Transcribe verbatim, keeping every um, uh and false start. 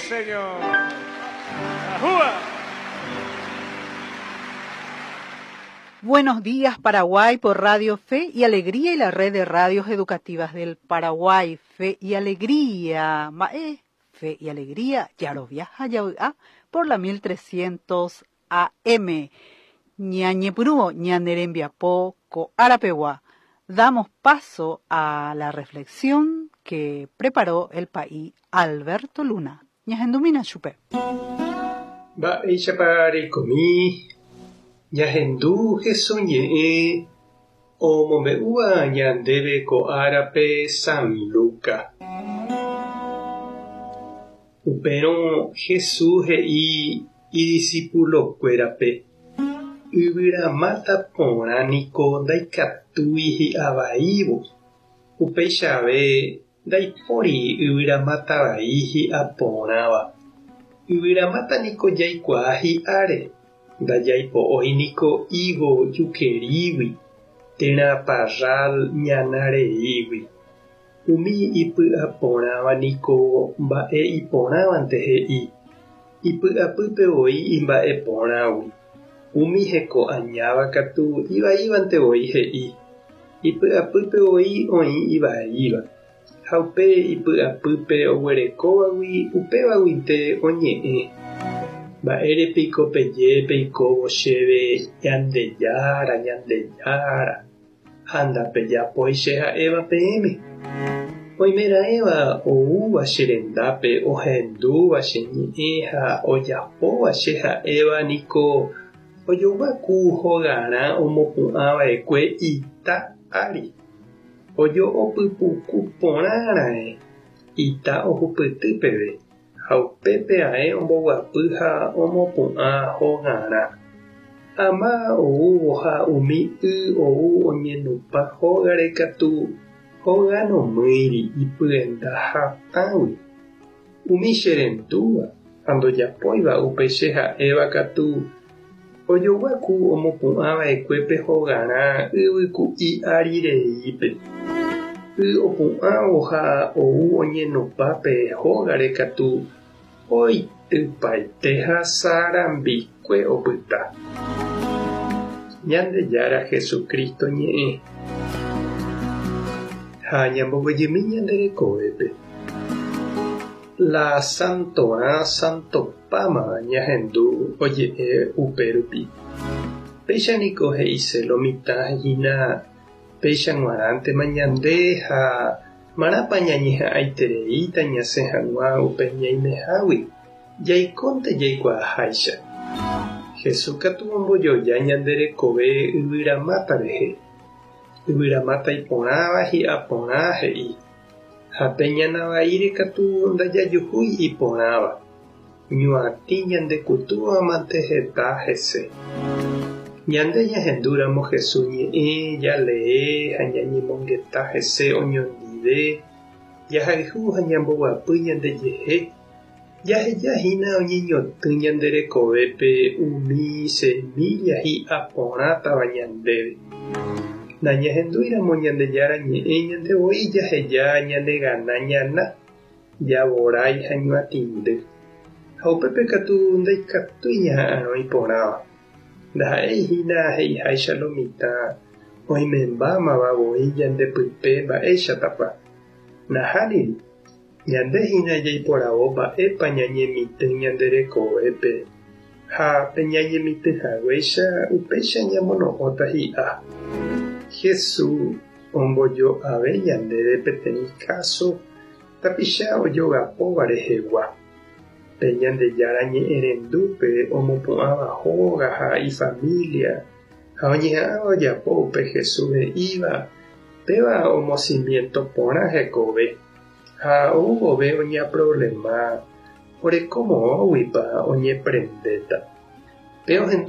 señor. ¡Ajúa! Buenos días, Paraguay, por Radio Fe y Alegría y la red de radios educativas del Paraguay. Fe y Alegría. Mae, Fe y Alegría, Yaroviaja, Yaoa, por la mil trescientos A M. Ñañepurúo, ñanerembiapó, coarapeguá. Damos paso a la reflexión que preparó el país Alberto Luna. Ñahendumina chupe. Va, chaparecomi. Ñahendu Jesús ñe'ẽ omombe'úva ñandéve ko árape San Luca. Upérõ Jesús he'i idiscipulokuérape yvyramáta porã niko ndaikatúi hi'avaívo. Upeichave ndaipóri yvyramáta vai hi'aporãva. Yvyramáta niko jaikuaa hi'áre. Ndajaipo'ói niko higo jukerígui térã parral ñanareígui. Umi ipy'aporãva niko mba'e iporãvante he'i. Ipy'apýpe voi imba'eporãgui. Umi hekoañáva katu ivaívante voi he'i. Ipy'apýpe voi oĩ ivaíva. Ha upe ipy'apýpe oguerekóvagui upévaguinte oñe'ẽ. Mba'érepiko peje peikóvo chéve Ñandejára, Ñandejára, ha ndapejapói che ha'éva peẽme. Oimeraẽva oúva che rendápe ohendúva che ñe'ẽ ha ojapóva che ha'éva niko ojoguaku hogarã omopu'ãva'ekue ita ári. Ojo'opypuku porãraẽ ita ohupyty peve. Ha upépe ae omboguapy ha omopu'ã hogarã. Ama oúvo ha umi y ou oñenupa hógare katu hóganomýiri ipyenda hatãgui. Umi cherendúva ha ndojapóiva upe che ha'éva katu ojoguaku omopu'ãva'ekue pe hogarã yvyku'i ári reípe. Y opu'ãvo ha ou oñenupa pe hógare katu oitypaite ha sarambikue opyta. Ñandejára Jesucristo ñe'ẽ. Ha ñamboguejymi ñande rekovépe. La santorã santopáma ñahendu oje'e upérupi. Péicha niko he'ise lo mitã hína péicha g̃uarãntema ñande ha marãpa ñañeha'ãitereíta ñasẽ hag̃ua upe ñaimehágui jaikónte jaikuaaháicha. Jesús katu ombojoja ñande rekove yvyramáta rehe. Yvyramáta iporãva hi'aporã he'i. Ha pe ñanavaíre katu ndajajuhúi iporãva. Ñuatĩ ñandekutúvamante heta hese. Ñande ñahendúramo Jesús ñe'ẽ, jalee ha ñañemongeta hese oñondive, jahayhu ha ñamboguapy ñandejehe, jahejahína oñeñotỹ ñande rekovépe umi semilla hi'aporãtava ñandéve. Nañahendúiramo Ñandejára ñe'ẽ ñande voi jaheja ñanegana ñana, javorái ha ñuatĩndy. Ha upépe katu ndaikatúi ñaha'arõ iporãva. Ndaha'éi hína he'iháicha lo mitã oimembámava voi ñandepype mba'éichatapa. Nahániri, ñande hína jaiporavo mba'épa ñañemitỹ ñande rekovépe ha pe ñañemitỹhaguéicha upéicha ñamono'õta hi'a. Jesús ombojo'ave ñandéve peteĩ káso tapicha ojogapóva rehegua. Pe Ñandejára ñe'ẽrendúpe omopu'ãva hóga ha ifamilia ha oñeha'ãva ojapo upe Jesús he'íva péva omocimiento porã hekove ha oúvove oñeaproblema orekomoõguipa oñeprendéta. Pe ohendu